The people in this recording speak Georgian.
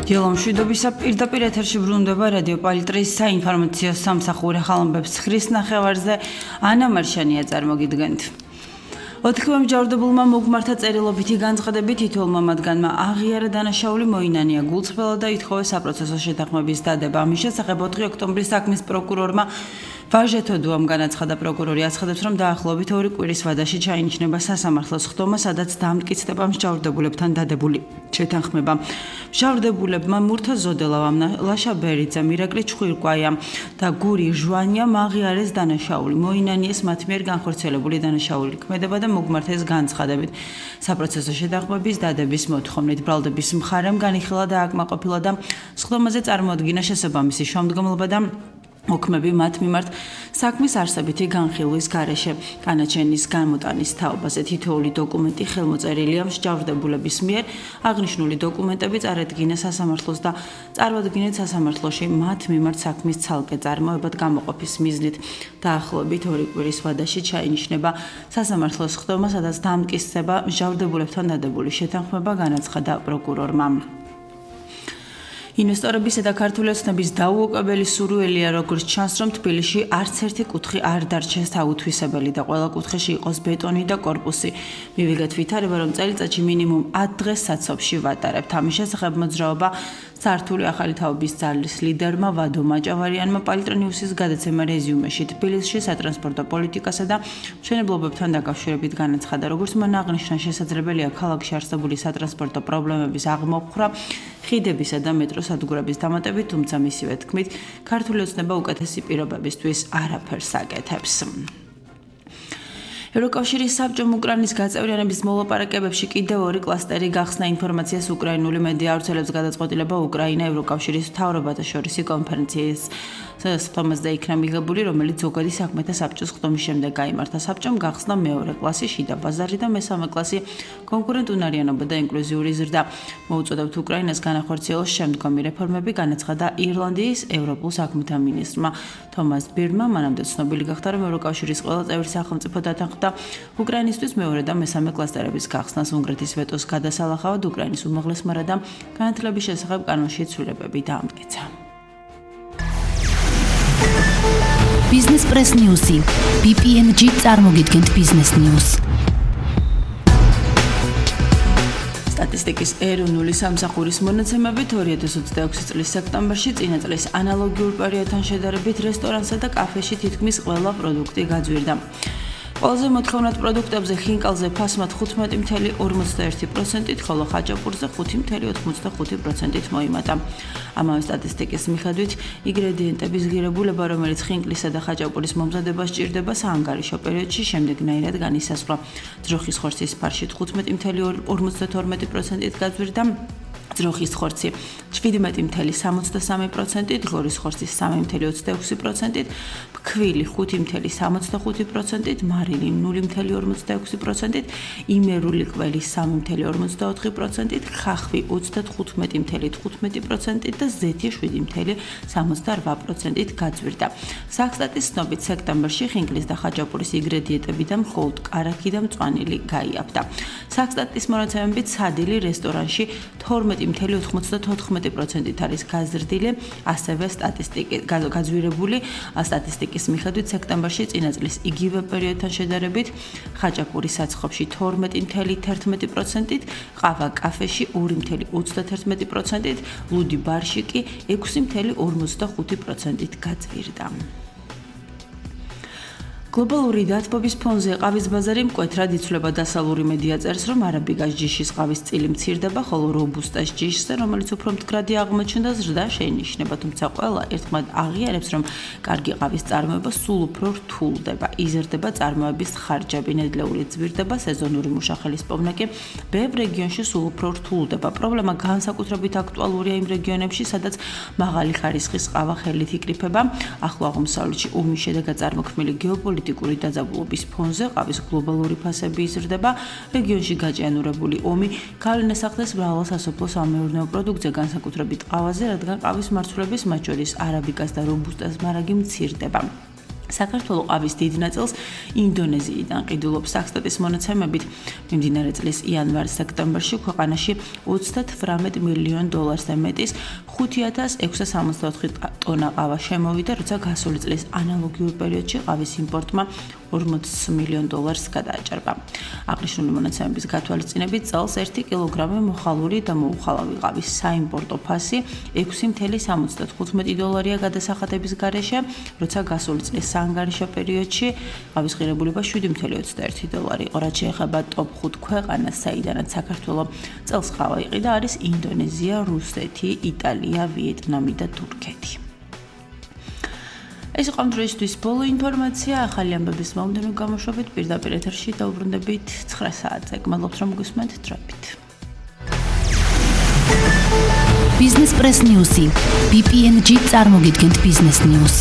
დილომშვიდობისა პირდაპირ ეთერში ბრუნდება რადიო პალიტრის საინფორმაციო სამსახური ხალხობებს ხრის ნახევარზე ანა მარშანია წარმოგიდგენთ. ოთხივე მსჯავრდებულმა მოგმართა წერილობითი განცხადებით თითოეულმა მათგანმა აღიარა დანაშაული მოინანია გულწრფელად და ითხოვეს საპროცესო შეთანხმების დადება. ამის შესახებ 4 ოქტომბრის საქმის პროკურორმა ვაჟეთოდუამ განაცხადა. პროკურორი აცხადებს, რომ დაახლოებით 2 კვირის ვადაში ჩაინიშნება სასამართლოს ხდომა, სადაც დამტკიცდება მსჯავრდებულებთან დადებული შეთანხმება. მსჯავრდებულებმა მურთა ზოდელავამ, ლაშა ბერიძემ, მირაკლი ჩხვირკვაიამ და გური ჟვანიამ აღიარეს დანაშაული. მოინანიეს მათ მიერ განხორციელებული დანაშაული ქმედება და მოგმართეს განცხადებით. საპროცესო შეთანხმების დადების მოთხოვნით ბრალდების მხარემ განიხილა და აკმაყოფილა და სხდომაზე წარმოადგინა შესაბამისი შემდგომლობა და ოქმები მათ მიმართ საქმის არსებითი განხილვის გარეშე. განაჩენის გამოტანის თაობაზე თითოეული დოკუმენტი ხელმოწერილია მსჯავრდებულების მიერ. აღნიშნული დოკუმენტები წარედგინა სასამართლოს და წარმოადგინეთ სასამართლოში მათ მიმართ საქმის ცალკე წარმოებად გამოყოფის მიზნით. დაახლოებით 2 კვირის ვადაში ჩაინიშნება სასამართლოს ხდომა, სადაც დამტკიცდება მსჯავრდებულებთან დადებული შეთანხმება, განაცხადა პროკურორმა. ინვესტორებისა და ქართული ოცნების დაუოკებელი სურვილია, როგორც ჩანს, რომ თბილისში არც ერთი კუთხე არ დარჩეს აუთვისებელი და ყველა კუთხეში იყოს ბეტონი და კორპუსი. მივიღეთ ვითარება, რომ წელიწადში მინიმუმ 10 დღეს საცობში ვატარებთ. ამის შესახებ მოძრაობა სართული ახალი თაობის ძალის ლიდერმა ვადო მაჭავარიანმა პალიტრონიუსის გადაცემა რეზიუმეში თბილისში სატრანსპორტო პოლიტიკასა და მშენებლობებთან დაკავშირებით განაცხადა. როგორც მან აღნიშნა, შესაძლებელია ქალაქში არსებული სატრანსპორტო პრობლემების აღმოფხვრა ხიდებისა და მეტროს სადგურების დამატებით, თუმცა მისივე თქმით, ქართული ოცნება უკეთესი პირობებისთვის არაფერს აკეთებს. ევროკავშირის საბჭომ უკრაინის გაწევრიანების მოლაპარაკებებში კიდევ 2 კლასტერი გახსნა. ინფორმაციას უკრაინული მედია ავრცელებს გადაწყვეტილება უკრაინა ევროკავშირის მთავრობათა შორისი კონფერენციის სხდომაზე იქნა მიღებული, რომელიც ზოგადი საქმეთა საბჭოს ხდომის შემდეგ გაიმართა. საბჭომ გახსნა მეორე კლასი შიდა ბაზარი და მესამე კლასი კონკურენტუნარიანობა და ინკლუზიური ზრდა. მოუწოდებთ უკრაინას განახორციელოს შემდგომი რეფორმები, განაცხადა ირლანდიის ევროპულ საქმეთა მინისტრმა თომას ბირმა. მანამდე ცნობილი გახდა, რომ ევროკავშირის ყველა წევრი სახელმწიფო დათანხმდა უკრაინისთვის მეორე და მესამე კლასტერების გახსნას. უნგრეთის ვეტოს გადასალახავად უკრაინის უმაღლესმა რადამ განათლების შესახებ კანონში ცვლილებები დაამტკიცა. Business Press News-ი BPNG წარმოგიდგენთ Business News. სტატისტიკის ეროვნული სამსახურის მონაცემებით 2026 წლის სექტემბერში წინა წლის ანალოგიურ პერიოდთან შედარებით რესტორანსა და კაფეში თითქმის ყველა პროდუქტი გაძვირდა. ყველაზე მოთხოვნად პროდუქტებზე ხინკალზე ფასმა 15.41%-ით, ხოლო ხაჭაპურზე 5.85%-ით მოიმატა. ამავე სტატისტიკის მიხედვით, ინგრედიენტების ღირებულება, რომელიც ხინკლისა და ხაჭაპურის მომზადებას სჭირდება საანგარიშო პერიოდში, შემდეგნაირად განისაზღვრა. ძროხის ხორცის ფარში 15.52%-ით გაძვირდა. ძროხის ხორცი 17.73%-ით, ღორის ხორცის 3.26%-ით, ფქვილი 5.65%-ით, მარილი 0.46%-ით, იმერული ყველი 3.44%-ით, ხახვი 35.15%-ით და ზეთი 7.78%-ით გაძვირდა. საქსტატის ცნობით, სექტემბერში ხინკლის და ხაჭაპურის ინგრედიენტები და მხოლოდ კარაქი და მწვანილი გაიაფდა. საქსტატის მონაცემებით, სადილი რესტორანში 12.94%-ით არის გაზრდილი, ასევე გაძვირებული სტატისტიკის მიხედვით სექტემბერში წინა წლის იგივე პერიოდთან შედარებით ხაჭაპური საცხობში 12.11%-ით, ყავა კაფეში 2.31%-ით, ლუდი ბარში კი 6.45%-ით გაძვირდა. გლობალური დათბობის ფონზე ყავის ბაზარი მკვეთრად იცვლება. დასავლური მედია წერს, რომ არაბიკას ჯიშის ყავის წილი მცირდება, ხოლო რობუსტას ჯიშზე, რომელიც უფრო მდგრადი აღმოჩნდა, ზრდა შეინიშნება. თუმცა ყველა ერთხმად აღიარებს, რომ კარგი ყავის წარმოება სულ უფრო რთულდება. იზრდება წარმოების ხარჯები, ნედლეული ძვირდება, სეზონური მუშახელის პოვნა კი ბევრ რეგიონში სულ უფრო რთულდება. პრობლემა განსაკუთრებით აქტუალურია იმ რეგიონებში, სადაც მაღალი ხარისხის ყავა ხელით იკრიფება. ახლო აღმოსავლეთში ომის შედეგად წარმოქმნილი გეოპოლიტიკური დაძაბულობის ფონზე ყავის გლობალური ფასები იზრდება. რეგიონში გაჭიანურებული ომი გავლენას მრავალ სასოფლო-სამეურნეო პროდუქტზე, განსაკუთრებით ყავაზე, რადგან ყავის მარცვლების, მათ შორის არაბიკას და რობუსტას მარაგი მცირდება. საქართველოს ყავის დიდ ნაწილს ინდონეზიიდან ყიდულობს. საქსტატის მონაცემებით, მიმდინარე წლის იანვარ-სექტემბერში ქვეყანაში 38 მილიონ დოლარზე მეტის 5664 ტონა ყავა შემოვიდა, როცა გასული წლის ანალოგიურ პერიოდში ყავის იმპორტმა 40 მილიონ დოლარს გადააჭარბა. აღნიშნული მონაცემების გათვალისწინებით წელს 1 კილოგრამი მოხალული და მოუხალავი ყავის საიმპორტო ფასი 6.75 დოლარია გადასახადების გარეშე, როცა გასული წლის საანგარიშო პერიოდში ყავის ღირებულება 7.21 დოლარი იყო. რაც შეეხება ტოპ 5 ქვეყანას, საიდანაც საქართველოს წელს ყავა იყიდა, არის ინდონეზია, რუსეთი, იტალია, ვიეტნამი და თურქეთი. ეს იყო დღეისთვის ბოლო ინფორმაცია. ახალი ამბების მომდევნო გამოშვებით პირდაპირ ეთერში დაუბრუნდებით 9 საათზე. გმადლობთ რომ გусმენთ დროებით. Business Press News. BPNG წარმოგიდგენთ Business News.